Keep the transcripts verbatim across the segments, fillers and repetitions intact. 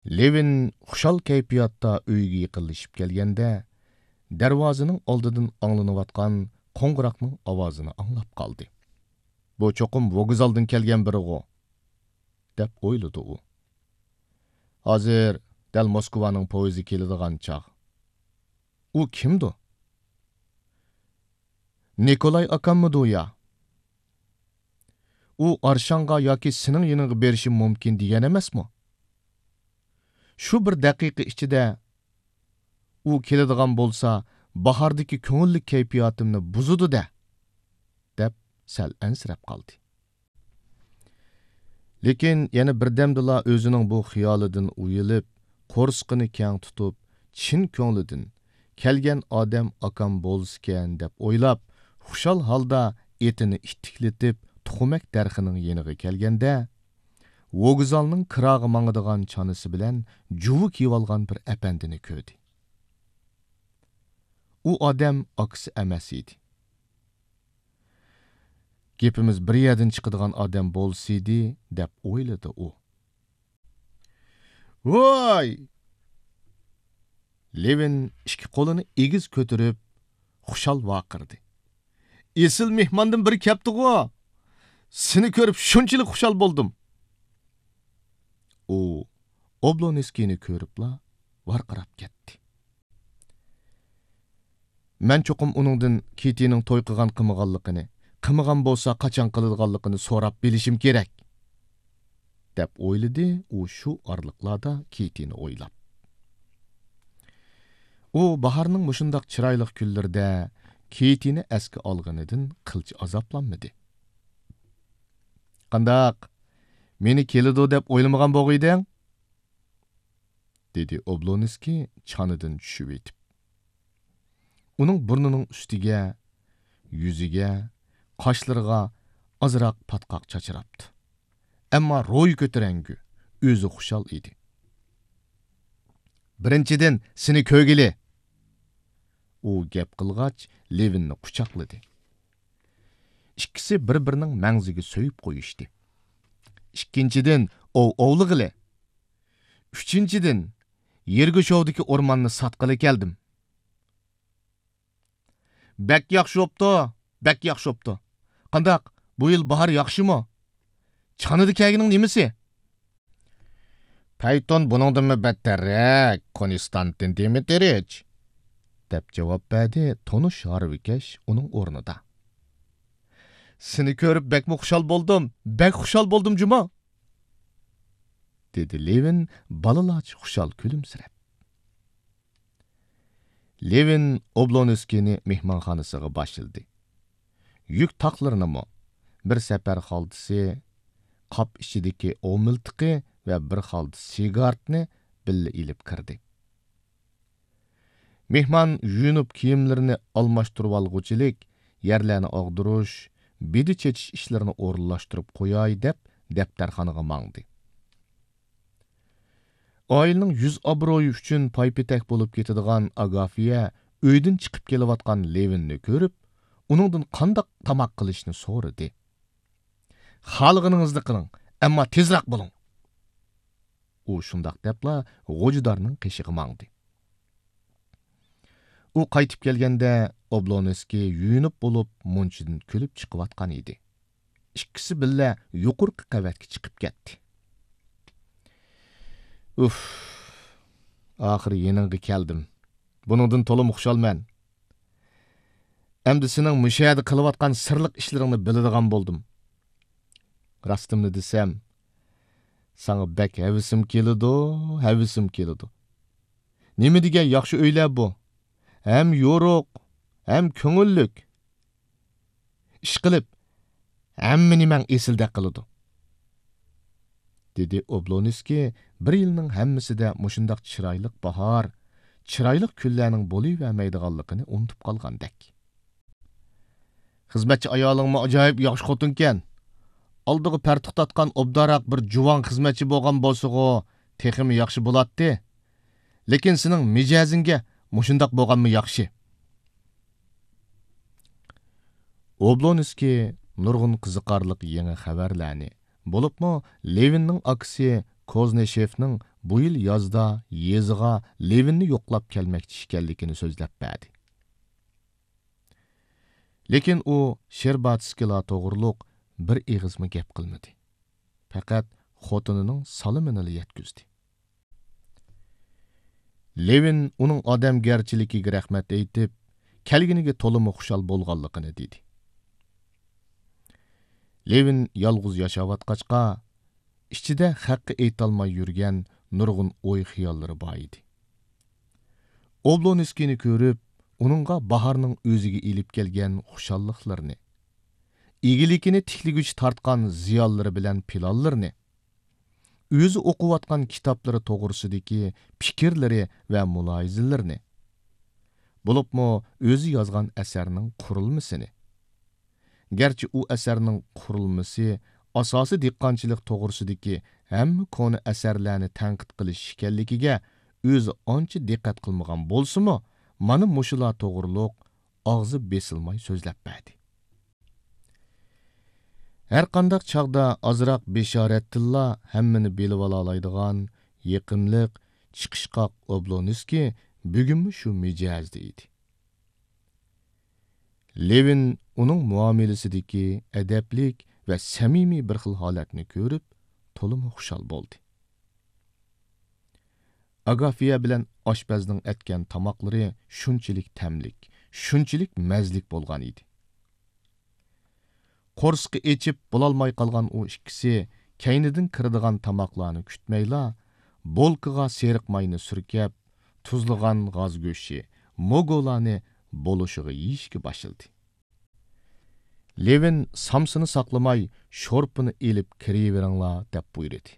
لېۋىن خۇشال كەيپىياتتا ئۆيىگە يېقىنلىشىپ كەلگەندە، دەرۋازىنىڭ ئالدىدىن ئاڭلىنىۋاتقان قوڭغۇراقنىڭ ئاۋازىنى ئاڭلاپ قالدى. «بۇ چوقۇم ۋوگزالدىن كەلگەن بىرىغۇ» دەپ ئويلىدى ئۇ. ھازىر دەل موسكۋانىڭ پويىزى كېلىدىغان چاغ. ئۇ كىمدۇ؟ نىكولاي ئاكاممىدۇ يا؟ ئۇ ئارشاڭغا ياكى سېنىڭ يېنىڭغا بېرىشى مۇمكىن دېگەن ئەمەسمۇ؟ شۇ بىر دەقىقە ئىچىدە ئۇ كېلىدىغان بولسا، باھاردىكى كۆڭۈللۈك كەيپىياتىمنى بۇزىدۇ-دە، دەپ سەل ئەنسىرەپ قالدى. لېكىن يەنە بىردەمدىلا ئۆزىنىڭ بۇ خىيالىدىن ئۇيىلىپ، قورسىقىنى كەڭ تۇتۇپ، چىن كۆڭلىدىن، «كەلگەن ئادەم ئاكام بولسىكەن» دەپ ئويلاپ، خۇشال ھالدا ئېتىنى ئىتتىكلىتىپ، تۇخۇمەك دەرىخىنىڭ يېنىغا كەلگەندە، ۋوگزالنىڭ كىراغا ماڭىدىغان چانىسى بىلەن جۇۋا كىيىۋالغان بىر ئەپەندىنى كۆردى. ئۇ ئادەم ئاكىسى ئەمەس ئىدى. «گېپىمىز بىر يەردىن چىقىدىغان ئادەم بولسىدى» دەپ ئويلىدى ئۇ. «ۋاي!» لېۋىن ئىككى قولىنى ئېگىز كۆتۈرۈپ، خۇشال ۋارقىرىدى. «ئېسىل مېھماندىن بىرى كەپتىغۇ! سېنى كۆرۈپ شۇنچىلىك خۇشال بولدۇم!» ئۇ ئوبلونسكىينى كۆرۈپلا ۋارقىراپ كەتتى. «مەن چوقۇم ئۇنىڭدىن كىتىنىڭ توي قىلغان قىلمىغانلىقىنى، قىلمىغان بولسا قاچان قىلىدىغانلىقىنى سوراپ بىلىشىم كېرەك» دەپ ئويلىدى ئۇ شۇ ئارىلىقلاردا كىتىنى ئويلاپ. ئۇ باھارنىڭ مۇشۇنداق چىرايلىق كۈنلىرىدە كىتىنى ئەسكە ئالغىنىدىن قىلچە ئازابلانمىدى. «قانداق، مېنى كېلىدۇ دەپ ئويلىمىغان بولغىيدىڭ؟» دېدى ئوبلونسكىي چانىدىن چۈشۈۋېتىپ. ئۇنىڭ بۇرنىنىڭ ئۈستىگە، يۈزىگە، قاشلىرىغا ئازراق پاتقاق چاچراپتۇ. ئەمما روھى كۆتۈرەڭگۈ، ئۆزى خۇشال ئىدى. «بىرىنچىدىن، سېنى كۆرگىلى!» ئۇ گەپ قىلغاچ، لېۋىننى قۇچاقلىدى. ئىككىسى بىر-بىرىنىڭ مەڭزىگە سۆيۈپ قويۇشتى. «ئىككىنچىدىن، ئوۋ ئوۋلىغىلى! ئۈچىنچىدىن، يىرگۇشوۋدىكى ئورماننى ساتقىلى كەلدىم.» «بەك ياخشى بوپتۇ، بەك ياخشى بوپتۇ. قانداق، بۇ يىل باھار ياخشىمۇ؟ چانىدا كەلگىنىڭ نېمىسى؟» «پەيتۇن بۇنىڭدىنمۇ بەتتەررەك، كونستانتىن دىمىترىچ!» دەپ جاۋاب بەردى تونۇش ھارۋىكەش ئۇنىڭ ئورنىدا. «سېنى كۆرۈپ بەكمۇ خۇشال بولدۇم، بەك خۇشال بولدۇم جۇمۇ!» دېدى لېۋىن بالىلارچە خۇشال كۈلۈمسىرەپ. لېۋىن ئوبلونسكىينى مېھمانخانىسىغا باشلىدى. يۈك تاقلىرىنىمۇ، بىر سەپەر خالتىسى، قاپ ئىچىدىكى ئوۋ مىلتىقى ۋە بىر خالتا سىگارنى بىللە ئېلىپ كىردى. مېھمان يۇيۇنۇپ كىيىملىرىنى ئالماشتۇرۇۋالغۇچىلىك يەرلەرنى ئاغدۇرۇش، بىدە چېچىش ئىشلىرىنى ئورۇنلاشتۇرۇپ قوياي دەپ دەپتەرخانىغا ماڭدى. ئائىلىنىڭ يۈز ئابرۇيى ئۈچۈن پايپېتەك بولۇپ كېتىدىغان ئاگافىيە ئۆيدىن چىقىپ كېلىۋاتقان لېۋىننى كۆرۈپ، ئۇنىڭدىن قانداق تاماق قىلىشنى سورىدى. «خالىغىنىڭىزنى قىلىڭ، ئەمما تېزراق بولۇڭ.» ئۇ شۇنداق دەپلا غوجىدارنىڭ قېشىغا ماڭدى. ئۇ قايتىپ كەلگەندە، ئوبلونسكىي يۇيۇنۇپ بولۇپ، مۇنچىدىن كۈلۈپ چىقىۋاتقان ئىدى. ئىككىسى بىللە يۇقىرىقى قەۋەتكە چىقىپ كەتتى. «ئۇف، ئاخىرى يېنىڭغا كەلدىم. بۇنىڭدىن تولىمۇ خۇشالمەن. ئەمدى سېنىڭ مۇشۇ يەردە قىلىۋاتقان سىرلىق ئىشلىرىڭنى بىلىدىغان بولدۇم. راستىمنى دېسەم، ساڭا بەك ھەۋىسىم كېلىدۇ، ھەۋىسىم كېلىدۇ. نېمە دېگەن ياخشى ئۆيلەر بۇ! ھەم يورۇق، ھەم كۆڭۈللۈك. ئىشقىلىپ، ھەممە نېمەڭ ئېسىلدەك قىلىدۇ.» دېدى ئوبلونسكىي بىر يىلنىڭ ھەممىسىدە مۇشۇنداق چىرايلىق باھار، چىرايلىق كۈنلەرنىڭ بولۇۋەرمەيدىغانلىقىنى ئۇنتۇپ قالغاندەك. «خىزمەتچى ئايالىڭمۇ ئاجايىپ ياخشى خوتۇنكەن. ئالدىغا پەر توختاتقان ئوبدانراق بىر جۇۋان خىزمەتچى بولغان بولسىغۇ، تېخىمۇ ياخشى بولاتتى. لېكىن سېنىڭ مىجەزىڭگە مۇشۇنداق بولغانمۇ ياخشى.» ئوبلونسكىي نۇرغۇن قىزىقارلىق يېڭى خەۋەرلەرنى، بولۇپمۇ لېۋىننىڭ ئاكىسى كوزنىشېفنىڭ بۇ يىل يازدا يېزىغا لېۋىننى يوقلاپ كەلمەكچى ئىكەنلىكىنى سۆزلەپ بەردى. لېكىن ئۇ شېرباتسكىلار توغرۇلۇق بىر ئېغىزمۇ گەپ قىلمىدى. پەقەت خوتۇنىنىڭ سالىمىنىلا يەتكۈزدى. لېۋىن ئۇنىڭ ئادەمگەرچىلىكىگە رەھمەت ئېيتىپ، كەلگىنىگە تولىمۇ خۇشال بولغانلىقىنى دېدى. لېۋىن يالغۇز ياشاۋاتقاچقا، ئىچىدە خەققە ئېيتالماي يۈرگەن نۇرغۇن ئوي-خىياللىرى بار ئىدى. ئوبلونسكىينى كۆرۈپ، ئۇنىڭغا باھارنىڭ ئۆزىگە ئېلىپ كەلگەن خۇشاللىقلىرىنى، ئىگىلىكىنى تىكلىگۈچە تارتقان زىيانلىرى بىلەن پىلانلىرىنى، ئۆزى ئوقۇۋاتقان كىتابلىرى توغرىسىدىكى پىكىرلىرى ۋە مۇلاھىزىلىرىنى، بولۇپمۇ ئۆزى يازغان ئەسەرنىڭ قۇرۇلمىسىنى، گەرچە ئۇ ئەسەرنىڭ قۇرۇلمىسى ئاساسىي دېھقانچىلىق توغرىسىدىكى ھەممە كونا ئەسەرلەرنى تەنقىد قىلىش ئىكەنلىكىگە ئۆزى ئانچە دىققەت قىلمىغان بولسىمۇ، مانا مۇشۇلار توغرۇلۇق ئاغزى بېسىلماي سۆزلەپ بەردى. ھەرقانداق چاغدا ئازراق بېشارەتتىنلا ھەممىنى بىلىۋالالايدىغان يېقىملىق، چىقىشقاق ئوبلونسكىي بۈگۈنمۇ شۇ مىجەزدە ئىدى. لېۋىن ئۇنىڭ مۇئامىلىسىدىكى ئەدەپلىك ۋە سەمىمىي بىر خىل ھالەتنى كۆرۈپ، تولىمۇ خۇشال بولدى. ئاگافىيە بىلەن ئاشپەزنىڭ ئەتكەن تاماقلىرى شۇنچىلىك تەملىك، شۇنچىلىك مەززىلىك بولغان ئىدى. قورسىقى ئېچىپ بولالماي قالغان ئۇ ئىككىسى كەينىدىن كىرىدىغان تاماقلارنى كۈتمەيلا، بولكىغا سېرىق ماينى سۈركەپ، تۇزلىغان غاز گۆشى، موگولانى بولۇشىغا يېيىشكە باشلىدى. لېۋىن سامسىنى ساقلىماي، شورپىنى ئېلىپ كىرىۋېرىڭلار، دەپ بۇيرۇدى.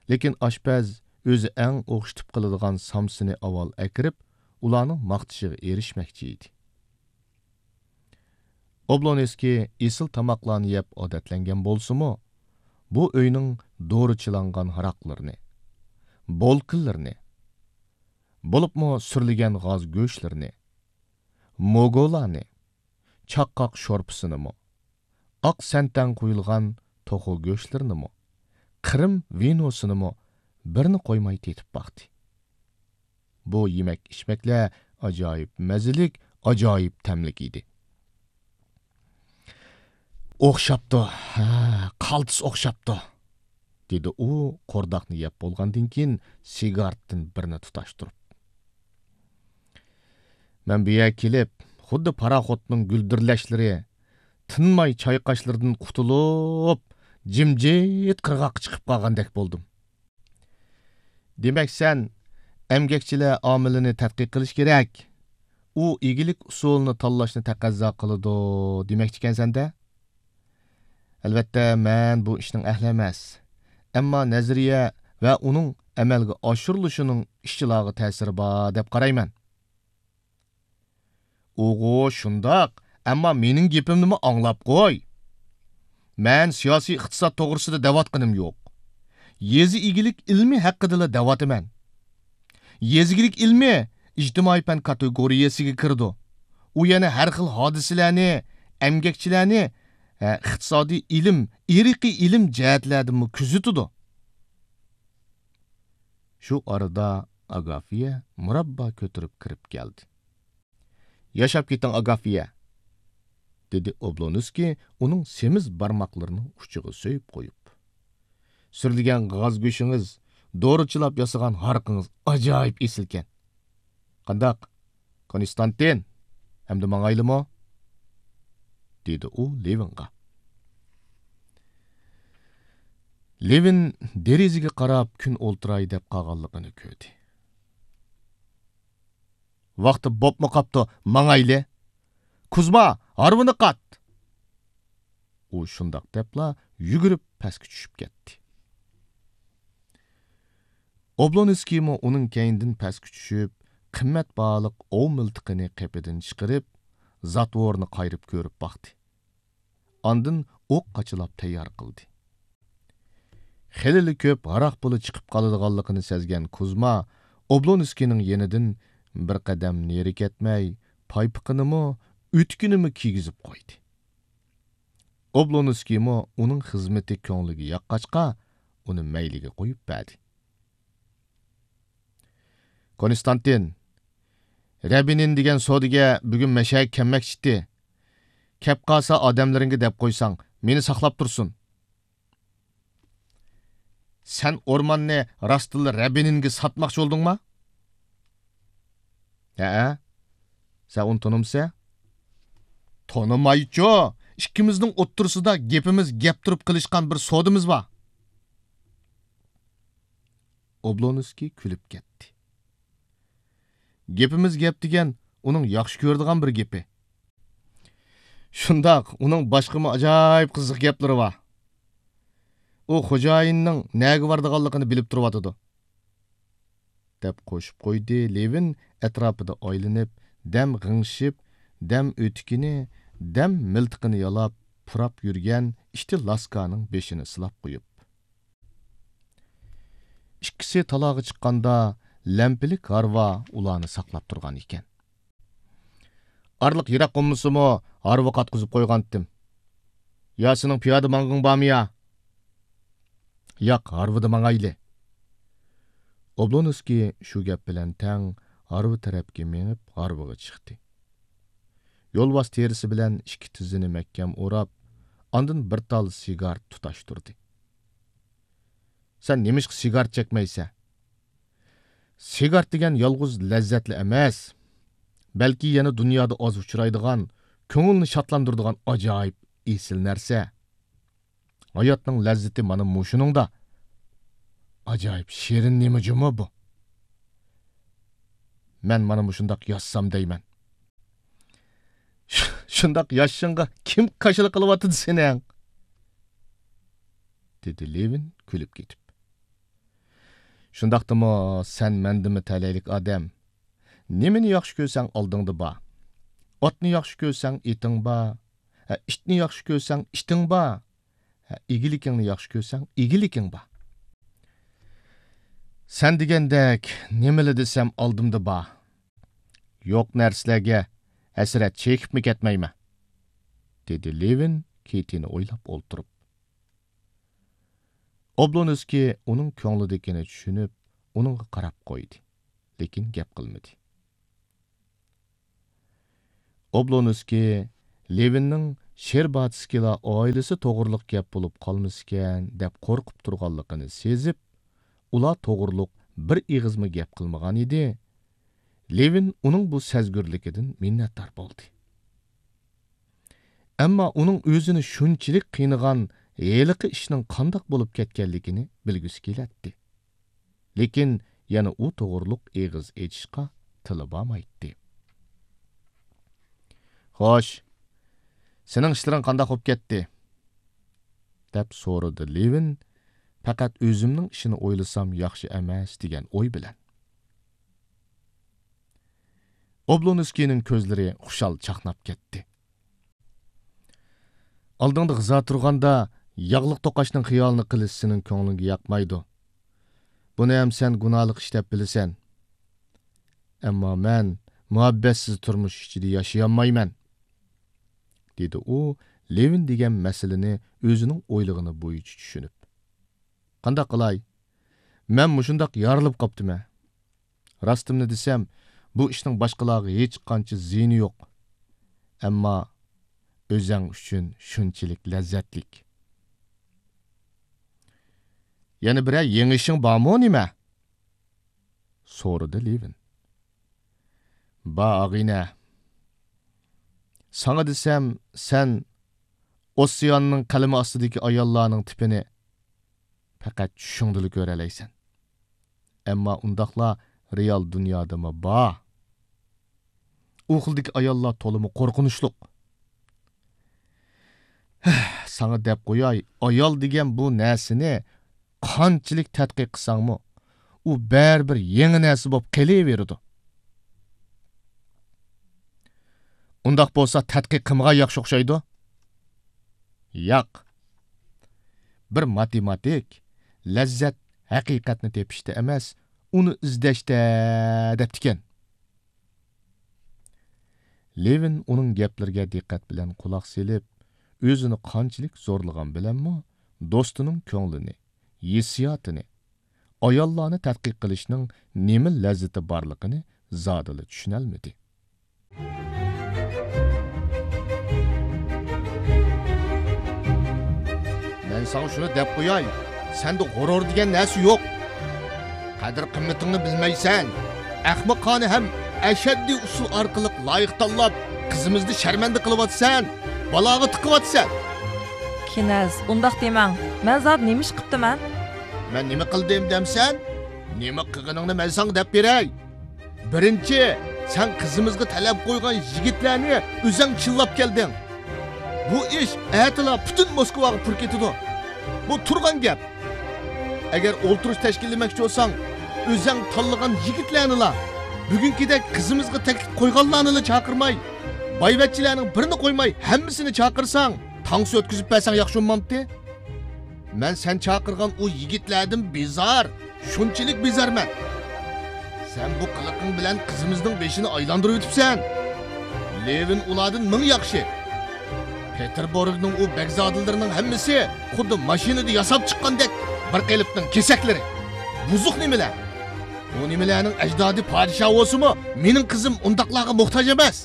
لېكىن ئاشپەز ئۆزى ئەڭ ئوخشىتىپ قىلىدىغان سامسىنى ئاۋۋال ئەكىرىپ، ئۇلارنىڭ ماختىشىغا ئېرىشمەكچى ئىدى. ئوبلونسكىي ئېسىل تاماقلارنى يەپ ئادەتلەنگەن بولسىمۇ، بۇ ئۆينىڭ دورىچىلانغان ھاراقلىرىنى، بولكىلىرىنى، بولۇپمۇ سۈرلىگەن غاز گۆشلىرىنى، موگولانى، چاققاق شورپىسىنىمۇ، ئاق سەنتەڭ قۇيۇلغان توخۇ گۆشلىرىنىمۇ، قىرىم ۋىنوسىنىمۇ بىرنى قويماي تېتىپ باقتى. بۇ يېمەك-ئىچمەكلەر ئاجايىپ مەززىلىك، ئاجايىپ تەملىك ئىدى. «ئوخشاپتۇ، ھە، قالتىس ئوخشاپتۇ»، دېدى ئۇ قورداقنى يەپ بولغاندىن كېيىن سىگارتتىن بىرنى تۇتاشتۇرۇپ. مەن بۇ يەرگە كېلىپ، خۇددى پاراخوتنىڭ گۈلدۈرلەشلىرى، تىنماي چايقاشلىرىدىن قۇتۇلۇپ، جىمجىت قىرغاققا چىقىپ قالغاندەك بولدۇم. دېمەك، سەن ئەمگەكچىلەر ئامىلىنى تەتقىق قىلىش كېرەك، ئۇ ئىگىلىك ئۇسۇلىنى تاللاشنى تەقەززا قىلىدۇ دېمەكچىكەنسەن-دە؟ ئەلۋەتتە، مەن بۇ ئىشنىڭ ئەھلى ئەمەس. ئەمما نەزەرىيە ۋە ئۇنىڭ ئەمەلگە ئاشۇرۇلۇشىنىڭ ئىشچىلارغا تەسىرى بار دەپ قارايمەن. ئۇغۇ، شۇنداق، ئەمما مېنىڭ گېپىمنىمۇ ئاڭلاپ قوي. مەن سىياسىي ئىقتىساد توغرىسىدا دەۋاتقىنىم يوق. يېزا ئىگىلىك ئىلمى ھەققىدىلا دەۋاتىمەن. يېزا ئىگىلىك ئىلمى ئىجتىمائىي پەن كاتېگورىيەسىگە كىرىدۇ. ئۇ يەنە ھەر خىل ھادىسىلەرنى، ئەمگەكچىلەرنى، ھە، ئىقتىسادىي ئىلىم، ئىرقىي ئىلىم جەھەتلەردىنمۇ كۆزىتىدۇ. شۇ ئارىدا ئاگافىيە مۇراببا كۆتۈرۈپ كىرىپ كەلدى. «ياشاپ كېتىڭ، ئاگافىيە!» دېدى ئوبلونسكىي ئۇنىڭ سېمىز بارماقلىرىنىڭ ئۇچىغا سۆيۈپ قويۇپ. «سۈرلىگەن غاز گۆشىڭىز، دورىچىلاپ ياسىغان ھارىقىڭىز ئاجايىپ ئېسىلكەن. قانداق، كونستانتىن، ئەمدى ماڭايلىمۇ؟» دېدى ئۇ لېۋىنغا. لېۋىن دېرىزىگە قاراپ كۈن ئولتۇراي دەپ قالغانلىقىنى كۆردى. «ۋاقتى بوپمۇ قاپتۇ، ماڭايلى! كۇزما، ھارۋىنى قات!» ئۇ شۇنداق دەپلا يۈگۈرۈپ پەسكە چۈشۈپ كەتتى. ئوبلونسكىيمۇ ئۇنىڭ كەينىدىن پەسكە چۈشۈپ، قىممەت باھالىق ئوۋ مىلتىقىنى قېپىدىن چىقىرىپ، زاتۋورنى قايرىپ كۆرۈپ باقتى. ئاندىن ئوق قاچىلاپ تەييار قىلدى. خېلىلا كۆپ ھاراق پۇلى چىقىپ قالىدىغانلىقىنى سەزگەن كۇزما ئوبلونسكىينىڭ يېنىدىن بىر قەدەم نېرى كەتمەي، پايپىقىنىمۇ، ئۆتۈكىنىمۇ كىيگۈزۈپ قويدى. ئوبلونسكىيمۇ ئۇنىڭ خىزمىتى كۆڭلىگە ياققاچقا، ئۇنى مەيلىگە قويۇپ بەردى. كونستانتىن، رەبىنىن دېگەن سودىگەر بۈگۈن مەشەگە كەلمەكچىتى. كەپ قالسا ئادەملىرىڭگە دەپ قويساڭ، مېنى ساقلاپ تۇرسۇن. سەن ئورماننى راستتىنلا رەبىنىنگە ساتماقچى بولدۇڭما؟ ھەئە. سەن ئۇنى تونۇمسەن؟ تونۇمايچۇ. ئىككىمىزنىڭ ئوتتۇرىسىدا گېپىمىز گەپ تۇرۇپ قىلىشقان بىر سودىمىز بار. ئوبلونسكىي كۈلۈپ كەتتى. گېپىمىز گەپ دېگەن ئۇنىڭ ياخشى كۆرىدىغان بىر گېپى. شۇنداق، ئۇنىڭ باشقىمۇ ئاجايىپ قىزىق گەپلىرى بار. ئۇ خوجايىننىڭ نەگە بارىدىغانلىقىنى بىلىپ تۇرۇۋاتىدۇ. دەپ قوشۇپ قويدى لېۋىن ئەتراپىدا ئايلىنىپ، دەم غىڭشىپ، دەم ئۆتۈكىنى، دەم مىلتىقىنى يالاپ، پۇراپ يۈرگەن ئىككى لاسكانىڭ بېشىنى سىلاپ قويۇپ. ئىككىسى تالاغا چىققاندا، لەمپىلىك ھارۋا ئۇلارنى ساقلاپ تۇرغان ئىكەن. ئارىلىق يىراق بولمىسىمۇ، ھارۋا قاتقۇزۇپ قويغانتىم. يا سېنىڭ پىيادە ماڭغىڭ بارمۇ يا؟ ياق، ھارۋىدا ماڭايلى. ئوبلونسكىي شۇ گەپ بىلەن تەڭ ھارۋا تەرەپكە مېڭىپ، ھارۋىغا چىقتى. يولۋاس تېرىسى بىلەن ئىككى تىزىنى مەھكەم ئوراپ، ئاندىن بىر تال سىگارت تۇتاشتۇردى. سەن نېمىشقا سىگارت چەكمەيسەن؟ سىگارت دېگەن يالغۇز لەززەتلا ئەمەس، بەلكى يەنە دۇنيادا ئاز ئۇچرايدىغان، كۆڭۈلنى شادلاندۇرىدىغان ئاجايىپ ئېسىل نەرسە. ھاياتنىڭ لەززىتى مانا مۇشۇنىڭدا. ئاجايىپ شېرىن نېمە جۇمۇ بۇ؟ مەن مانا مۇشۇنداق ياشىسام دەيمەن. شۇنداق ياشىشىڭغا كىم كاشىلا قىلىۋاتىدۇ سېنىڭ؟ دېدى لېۋىن كۈلۈپ كېتىپ. شۇنداقتىمۇ سەن مەندىنمۇ تەلەيلىك ئادەم. نېمىنى ياخشى كۆرسەڭ ئالدىڭدا بار. ئاتنى ياخشى كۆرسەڭ ئېتىڭ بار. ھە، ئىتنى ياخشى كۆرسەڭ ئىتىڭ بار. ھە، ئىگىلىكىڭنى ياخشى كۆرسەڭ ئىگىلىكىڭ بار. سەن دېگەندەك نېمىلا دېسەم ئالدىمدا بار. يوق نەرسىلەرگە ھەسرەت چېكىپمۇ كەتمەيمەن، دېدى لېۋىن كېتىنى ئويلاپ ئولتۇرۇپ. ئوبلونسكىي ئۇنىڭ كۆڭلىدىكىنى چۈشىنىپ، ئۇنىڭغا قاراپ قويدى، لېكىن گەپ قىلمىدى. ئوبلونسكىي لېۋىننىڭ شېرباتسكىيلار ئائىلىسى توغرىلىق گەپ بولۇپ قالمىسىكەن دەپ قورقۇپ تۇرغانلىقىنى سېزىپ، ئۇلار توغرىلىق بىر ئېغىزمۇ گەپ قىلمىغان ئىدى. لېۋىن ئۇنىڭ بۇ سەزگۈرلۈكىدىن مىننەتدار بولدى. ئەمما ئۇنىڭ ئۆزىنى شۇنچىلىك قىينىغان ھېلىقى ئىشنىڭ قانداق بولۇپ كەتكەنلىكىنى بىلگۈسى كېلەتتى. لېكىن يەنە ئۇ توغرۇلۇق ئېغىز ئېچىشقا تىلى بارمايتتى. خوش، سېنىڭ ئىشلىرىڭ قانداق بولۇپ كەتتى؟ دەپ سورىدى لېۋىن، پەقەت ئۆزۈمنىڭ ئىشىنى ئويلىسام ياخشى ئەمەس دېگەن ئوي بىلەن. ئوبلونسكىينىڭ كۆزلىرى خۇشال چاقناپ كەتتى. ئالدىڭدا غىزا تۇرغاندا ياغلىق توقاچنىڭ خىيالىنى قىلىش سېنىڭ كۆڭلۈڭگە ياقمايدۇ. بۇنى ھەم سەن گۇناھلىق ئىش دەپ بىلىسەن. ئەمما مەن مۇھەببەتسىز تۇرمۇش ئىچىدە ياشىيالمايمەن، دېدى ئۇ لېۋىن دېگەن مەسىلىنى ئۆزىنىڭ ئويلىغىنى بويىچە چۈشىنىپ. قانداق قىلاي؟ مەن مۇشۇنداق يارىلىپ قاپتىمەن. راستىمنى دېسەم، بۇ ئىشنىڭ باشقىلارغا ھېچقانچە زىيىنى يوق. ئەمما ئۆزەڭ ئۈچۈن شۇنچىلىك لەززەتلىك. يەنە بىرەر يېڭى ئىشىڭ بارمۇ نېمە؟ سورىدى لېۋىن. بار، ئاغىنە. ساڭا دېسەم، سەن ئوسسىياننىڭ قەلىمى ئاستىدىكى ئاياللارنىڭ تىپىنى پەقەت چۈشۈڭدىلا كۆرەلەيسەن. ئەمما ئۇنداقلار رېئال دۇنيادىمۇ بار. ئۇ خىلدىكى ئاياللار تولىمۇ قورقۇنچلۇق. ھە، ساڭا دەپ قوياي، ئايال دېگەن بۇ نەرسىنى قانچىلىك تەتقىق قىلساڭمۇ، ئۇ بەرىبىر يېڭى نەرسە بولۇپ قېلىۋېرىدۇ. ئۇنداق بولسا تەتقىق قىلمىغان ياخشى ئوخشايدۇ. ياق. بىر ماتېماتىك، لەززەت ھەقىقەتنى تېپىشتا ئەمەس، ئۇنى ئىزدەشتە دەپتىكەن. لېۋىن ئۇنىڭ گەپلىرىگە دىققەت بىلەن قۇلاق سېلىپ، ئۆزىنى قانچىلىك زورلىغان بىلەنمۇ، دوستىنىڭ كۆڭلىنى، ھېسسىياتىنى، ئاياللارنى تەتقىق قىلىشنىڭ نېمە لەززىتى بارلىقىنى زادىلا چۈشىنەلمىدى. مەن ساڭا شۇنى دەپ قوياي، سەندە غۇرۇر دېگەن نەرسە يوق. قەدىر-قىممىتىڭنى بىلمەيسەن. ئەخمىقانە ھەم ئەشەددىي ئۇسۇل ئارقىلىق لايىق تاللاپ، قىزىمىزنى شەرمەندە قىلىۋاتىسەن، بالاغا تىقىۋاتىسەن. كېنەز، ئۇنداق دېمەڭ. مەن زادى نېمە ئىش قىپتىمەن؟ مەن نېمە قىلدىم دەمسەن؟ نېمە قىلغىنىڭنى مەن ساڭا دەپ بېرەي. بىرىنچى، سەن قىزىمىزغا تەلەپ قويغان يىگىتلەرنى ئۆزەڭ چىللاپ كەلدىڭ. بۇ ئىش ئەتىلا پۈتۈن موسكۋاغا پۇر كېتىدۇ. بۇ تۇرغان گەپ. ئەگەر ئولتۇرۇش تەشكىللىمەكچى بولساڭ، ئۆزەڭ تاللىغان يىگىتلەرنىلا، بۈگۈنكىدەك قىزىمىزغا تەكلىپ قويغانلارنىلا چاقىرماي، بايۋەچچىلەرنىڭ بىرىنى قويماي ھەممىسىنى چاقىرساڭ، تانسا ئۆتكۈزۈپ بەرسەڭ ياخشى بولمامتى؟ مەن سەن چاقىرغان ئۇ يىگىتلەردىن بىزار، شۇنچىلىك بىزارمەن. سەن بۇ قىلىقىڭ بىلەن قىزىمىزنىڭ بېشىنى ئايلاندۇرۇۋېتىپسەن. لېۋىن ئۇلاردىن مىڭ ياخشى. پېتېربۇرگنىڭ ئۇ بەگزادىلىرىنىڭ ھەممىسى خۇددى ماشىنىدا ياساپ چىققاندەك بىر قېلىپنىڭ كېسەكلىرى. بۇزۇق نېمىلەر. ئۇ نېمىلەرنىڭ ئەجدادى پادىشاھ بولسىمۇ، مېنىڭ قىزىم ئۇنداقلارغا موھتاج ئەمەس.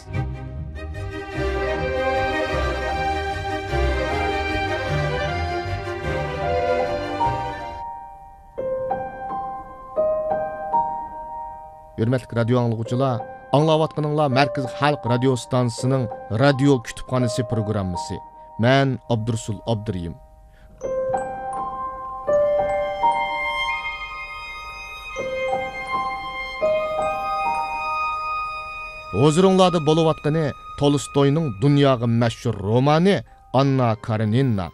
ھۆرمەتلىك رادىيو ئاڭلىغۇچىلار، ئاڭلاۋاتقىنىڭلار مەركىزىي خەلق رادىيو ئىستانسىسىنىڭ رادىيو كۇتۇپخانىسى پروگراممىسى. مەن ئابدۇرۇسۇل ئابدۇرېھىم. ھۇزۇرۇڭلاردا بولۇۋاتقىنى تولستوينىڭ دۇنياغا مەشھۇر رومانى ئاننا كارېنىنا.